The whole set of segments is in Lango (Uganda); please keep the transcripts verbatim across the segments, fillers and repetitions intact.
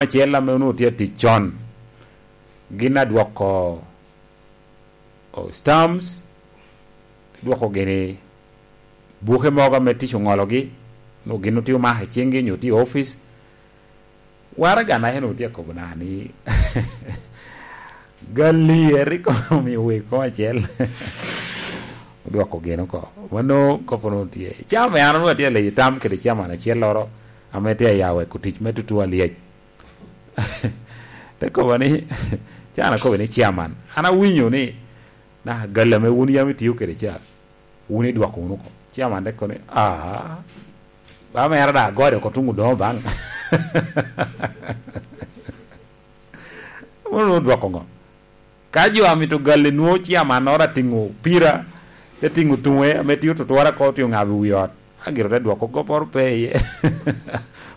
acel ame onwoŋo tye atic con, gin adwoko, o, stamps, dwoko gini buke mogo ame tic oŋologi, onwoŋo gin otye omako i ciŋgi nyo tye i opic. Waraga naca onwoŋo tye akobo na ni, "Gali eri kono omio wek koŋ acel." Odwoko gin oko. Mano kop onwoŋo tye. Caa me an onwoŋo atye aleyo tam kede caman acelloro ame tye aya weko tic me tutu alyec. Te kobo ni, can akobo ni, "Chairman, an awinyo ni naka gali ame wun yam itio kede ca, wun idwoko wunu oko." Chairman te kobo ni, "Ah, ba mera da agode oko tuŋ odoŋo baŋ." Wun wudwoko ŋo? Ka jo amito gali nwoŋo ciamannoro atiŋo pira, te tiŋo tuŋe ame tio tutwara ko, tio ŋabo i wi ot, agiro te dwoko gopporo pe iye.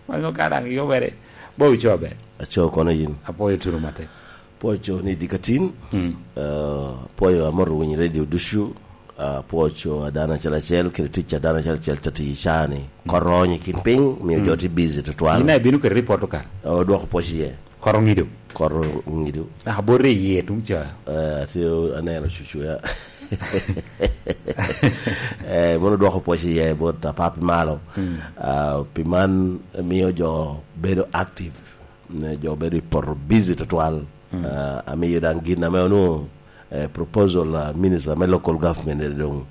Mano ka daŋ yubere, ba wucobe. Aco kono yin. Apwoyo tunu matek. Pwoyo co ni dikatin, mm, eh, pwoyo amoto winyo radio ducu, ah, pwoyo co a dano acel acel, kede tic a dano acel acel te tiyo i caa ni. Mm. Koro onyo i kin piny, mio, mm, jo tye busy tutwal. Ina ibino kede report okal? Odwoko pwoc iye. Koro ŋido. Koro ŋido. Ah, bot ri iye tung ca. Eh, atye aneno cucu ya. Eh, mono dwoko pwoc iye bot apapi malo. Mm. Ah, pi man mio jo bedo active, ne jo bedo i poto busy tutwal. Mm. Ah, amiyo daŋ gin ame onwoŋo, eh, proposal, ah, minister me local government ene doŋ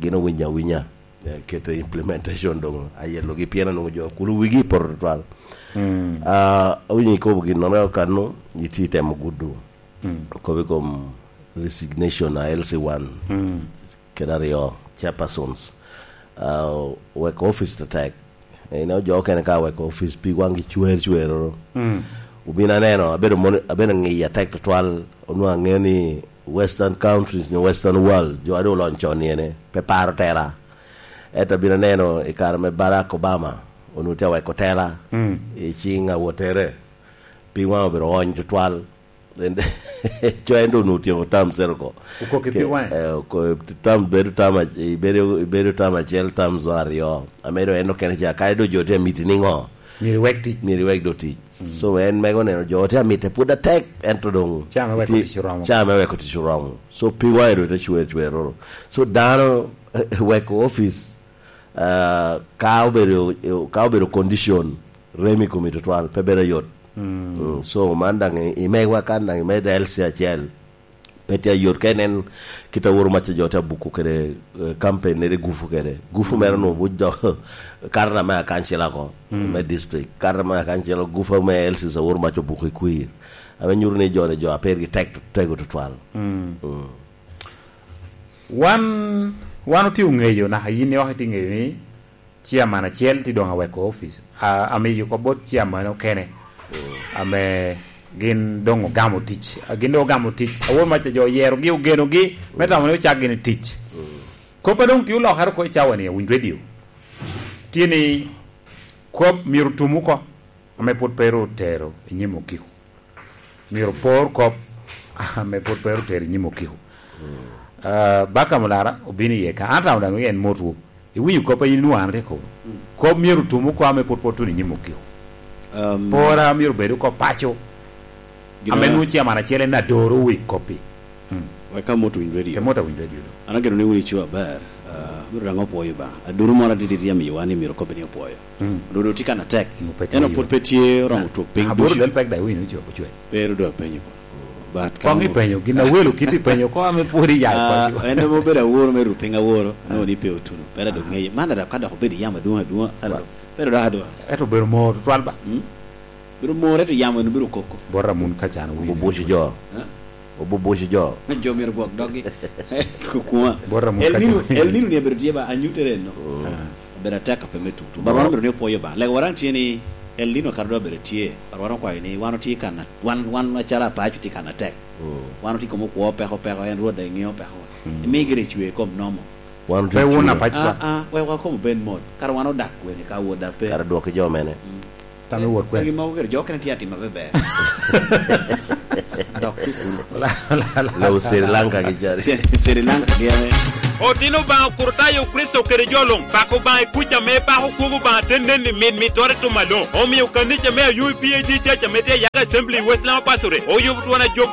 gin owinyo awinya. Eh, keto implementation doŋ ayelogi, pien onwoŋo jo kulu wigi poto tutwal. Mm. Ah, awinyo ikobo gin nono kano, itye itemo gudo. Mm. Okobo i kom resignation a L C one, mm, kede aryo, chairpersons. Ah, weko office tetek. Eh, ineno jo okene ka weko office pi waŋgi cwer cweroro. Mm. Obin aneno, abedo mon-, abedo ŋiyo atek tutwal, onwoŋo aŋeo ni Western countries nyo Western world, jo a doŋ olony con ni ene, pe paro tela. Ento abino aneno i kare me Barack Obama, onwoŋo tye aweko tela, mm, i ciŋ awotere. Pi waŋ obedo ony tutwal. En, co en doŋ onwoŋo otyeko tam cero oko. Okokki pi waŋe? Eh, oko-, tam, bedo tam ac-, ibedo, ibedo tam acel, tam zo aryo. Ame doŋ en okene ca, kadi doŋ jo tye amiti ni ŋo? Myero iwek tic. Myero iwek doŋ tic. Mm. So, en mego neno jo tye amite pwod atek, ento doŋ caa me weko tic oromo. Caa me weko tic oromo. So, pi waŋe doŋ te cwer cweroro. So, dano, eh, weko office, ah, ka obedo, ka obedo condition, rem i komi tutwal, pe bedo ayot. Mm. Mm, so, man daŋ i, i megwa kan daŋ i med L C acel, pe tye ayot. Ka inen kit a Woro Mac jo tye abuko kede, eh, campaign nede gufu kede. Gufu mere, mm, onwoŋo buc dok karata me akancila ko, mm, me district. Karata me akancila, gufu me L C sa Woro Mac obuko i kwir. Ame nyuto ni jo-ni jo a pergi tek, tego tutwal. Mm. Mm. Wan, wan otye oŋeyo, naka yin iwako itye ŋeyo ni chairman acel tye doŋ aweko office. A, amiyo kop bot chairman okene, mm, ame gin doŋ ogamo tic. A, gin doŋ ogamo tic. Awor Mac jo oyerogi, ogenogi, me tamo ni ocak gini tic. Mm. Kop a doŋ tye olokere oko i cawa-ni, Awiny Radio, tye ni kop myero otum oko, ame pwod pe ru otero i nyim okiko. Myero opor kop ame pwod pe otero i nyim okiko. Mm. Ah, Baka Mulara obino iye ka. An atamo daŋ en motwu. Iwinyo kop a in nwoŋo an rik kobo? Mm. Kop myero otum oko ame pwod pe otuno i nyim okiko. Um, pora myero obed oko paco. Gin ame a- nwoŋo chairman acel en adoro wi kop-pi. Mm. Wek amot Winy Radio. Ke mot Awiny Radio do. An ageno ni wun ico aber. Ah, myero daŋ opwoyo ba. Aduru moro adidi tye amiyo wan ni myero kop ni opwoyo. Mm. Ododo tye kan atek. Mo pe tye. Ento pwod pe tye oromo twok piny ducu. Aboro del pek daŋ wino ocwe, ocwe. Pe ru doŋ apenyo ko. But koŋ ipenyo, gin awelo kit ipenyo ko ame pwod iya. Ah, en ema obedo aworo me ru piny aworo, ah, nwoŋo ni pe otuno. Pera doŋ ŋeye. Man ada ka dok obedo yamo adwoŋ adwoŋ, ento, right, dok, pero dok adwoŋ. Ento obedo moo tutwal ba? Mm. Bedo moo, ento yamo en obedo koko. Bot Ramon ka can wino. Obubuco jo. Eh? Obubuco jo. Jo myero gwok doggi. Kukuma. Bot Ramon El ka Nino, can wino. El Nino ni abedo tye ba, anyutte reno. Mm. Ah. Obedo atek ape me tutu. Ba. Ba wan obedo ni opwoyo ba. Lega waraŋ tye ni El Nino kato dok obedo tye. Ba wan okwayo ni wan otye kan a-, wan, wan acalo apaco tye kan atek. Mm. Wan otye kom okwo peko peko, en Rwot daŋ eŋeo peko. Mm. Imi gire cwe kom nomo. Wan otye. Pe wun cwe. Apaco. Ah, ah, wek wa kom obed mot. Kara wan odak kwene ka wot da pe. Kara dwoki jo mene. Mm. Tamo wot kwene. Egi mogo kede jo okene tye atimo maber. Dok cukulu. La, la, la, la. Lo Sri Lanka gi jari. Sri, Sri Lanka gi ame. Otino Obaŋa okur tayo Kricito kede jo luŋ. Pako Obaŋa i kuc ame ipako kwogo Obaŋa te nen i mit mittoro i tum aloŋ. Omio kanica me Ayub P A G Church ame tye i Yaka Assembly i West Lama Pasture oyubo twon ajob